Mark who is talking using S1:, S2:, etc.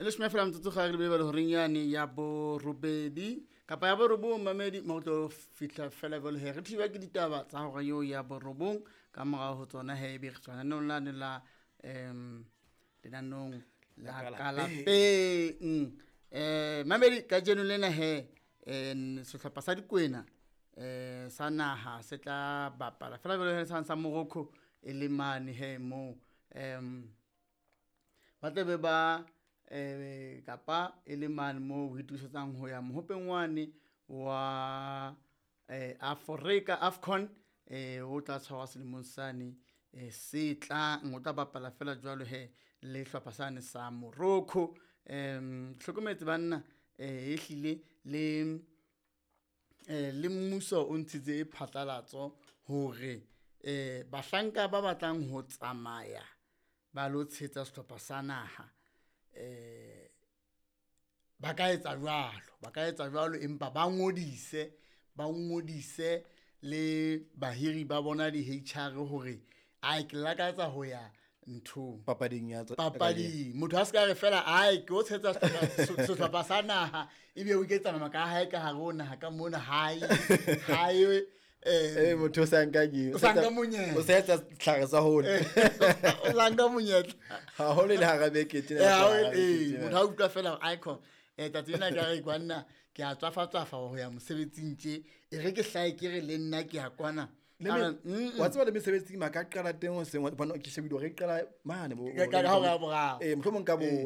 S1: E leshome fela metsotso ga re lebele horeng yane ya borobedi kapa ya borobong, mamedi, mo tlo fihla fela jwale he re thiba ke ditaba tsa hora eo ya borobong. Ka morao ho tsona he ebe re tswa lenaneng lane la lenanong la kalapeng. Mamedi, kajeno lena he sehlopha sa Dikwena sa naha se tla bapala fela jwale he sa Morocco e le mane he moo ba tla be ba kapa e le mane moo ho itukisetsang ho ya mohopeng wane wa Afrika AFCON o tla tshwarwa selemong sane se tlang. O tla bapala fela jwalo he le hlopha sane sa Morocco. Hlokometse banna, ehlile le le mmuso o ntshitse phatlalatso hore bahlanka ba batlang ho tsamaya ba lo tshehetsa sehlopha sa naha ba ka etsa jwalo, ba ka etsa jwalo, empa ba ngodise, ba ngodise le bahiri ba bona di-HR hore ai ke lakatsa ho ya nthong
S2: papading ya
S1: papading. Motho a se ka re fela ai ke o tshehetsa sehlopha sa naha, ebe o iketsa nama ka hae ka hare ho naha ka mona hae hae.
S2: Motho o sa nka ke
S1: o sa nka monyetla,
S2: o sa etsa tlhare sa hole,
S1: o sa nka monyetla
S2: haholo le hara beke tjena.
S1: Motho a utlwa fela icon tsatsi lena ka re kwanna ke a tswafa-tswafa ho ya mosebetsing tje, e re ke hlae ke re le nna ke ya kwana.
S2: Wa tseba le mesebetsing ma ka qala teng hoseng, ke shebile hore e qala mane
S1: ka hora ya boraro.
S2: Mohlomong ka bo